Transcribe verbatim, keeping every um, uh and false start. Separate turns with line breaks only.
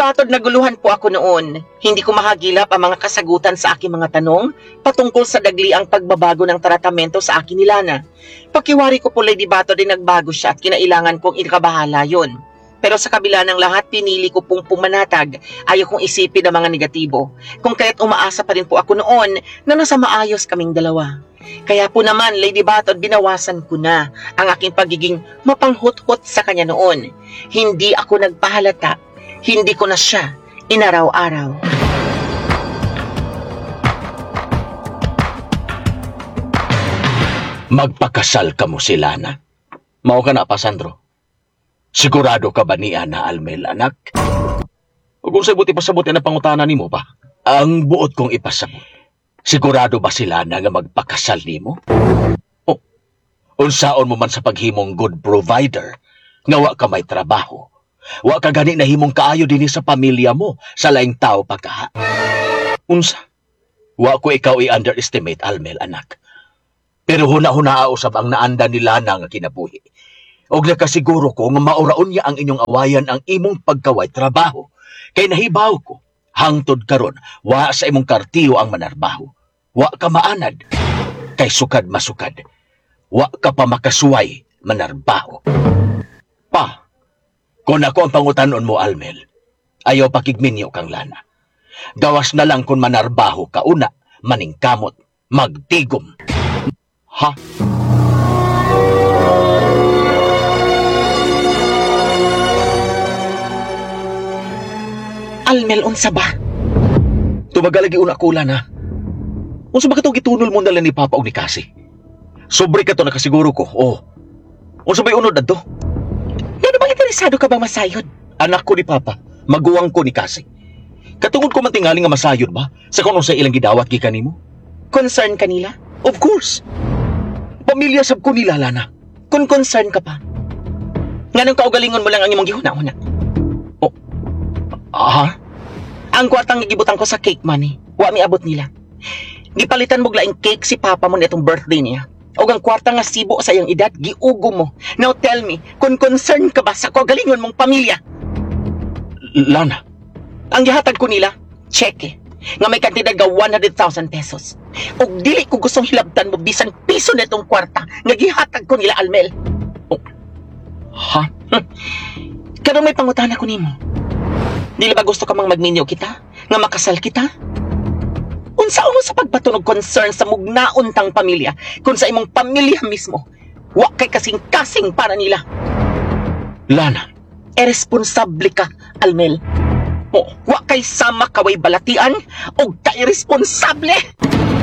Batod, naguluhan po ako noon. Hindi ko mahagilap ang mga kasagutan sa aking mga tanong patungkol sa dagliang pagbabago ng tratamento sa akin ni Lana. Pakiwari ko po, Lady Batod, ay nagbago siya at kinailangan kong ikabahala yon. Pero sa kabila ng lahat, pinili ko pong pumanatag. Ayaw kong isipin ang mga negatibo. Kung kaya't umaasa pa rin po ako noon na nasa maayos kaming dalawa. Kaya po naman, Lady Batod, binawasan ko na ang aking pagiging mapanghuthot sa kanya noon. Hindi ako nagpahalata. Hindi ko na siya inaraw-araw.
Magpakasal ka mo si Lana. Mao ka na pa, Sandro. Sigurado ka ba niya na Almel, anak? O kung sa buti pasabot na pangutana nimo pa? Ang buot kong ipasabot. Sigurado ba sila na nga magpakasal nimo? O, unsaon mo man sa paghimong good provider, nga wa ka may trabaho. Wa ka gani nahimong kaayo dinhi sa pamilya mo, sa laing tao pa kaha. Unsa? Wa ko ikaw i-underestimate, Almel, anak. Pero huna-huna usab ang naanda nila na nga kinabuhi. Og nakasiguro ko nga mauraon niya ang inyong awayan ang imong pagkaway trabaho. Kay nahibaw ko, hangtod karon wa sa imong kartiyo ang manarbaho. Wa ka maanad, kay sukad masukad. Wa ka pa makasuway manarbaho. Pa, kung ako ang pangutanon mo, Almel, ayaw pakigminyo kang Lana. Gawas na lang kung manarbaho ka una, maningkamot, magtigom. Ha?
Almel, unsa ba?
Tumagal lagi una ko, Lana. Unsa ba katong gitunol mo na lang ni Papa og ni Kasi? Sobre ka to nakasiguro ko. Oh. Unsa ba'y unod adto?
Ngano bang interesado ka bang masayod?
Anak ko ni Papa, maguwang ko ni Kasi. Katungod ko man tingali nga masayod ba sa kung sa ilang gidawat gikan nimo?
Concern kanila?
Of course. Pamilya sab ko nila, Lana.
Kung concern ka pa. Nganong kaugalingon mo lang ang imong gihuna-huna?
Ah,
Ang kwartang gibutang ko sa cake money, wa miabot nila. Gipalitan mo laing cake si papa mo nitong birthday niya. Og ang kwarta nga sibo sa iyang edad, giugo mo. Now tell me, kung concern ka ba sa kaugalingon mong pamilya?
Lana.
Ang gihatag ko nila, cheque, nga may kantidad ga one hundred thousand pesos. Og dili ko gustong hilabtan mo bisan piso nitong kwarta nga gihatag ko nila, Almel.
Oh. Ha?
Hmm. Karon may pangutana ko nimo. Dili ba gusto ka mang magminyo kita? Nga makasal kita? Unsa mo sa pagpatunog concern sa mugnaon tang pamilya kung sa imong pamilya mismo wa kay kasing-kasing para nila?
Lana.
Irresponsable ka, Almel.
Oh,
Wa kay sama kaway balatian og ka-irresponsable.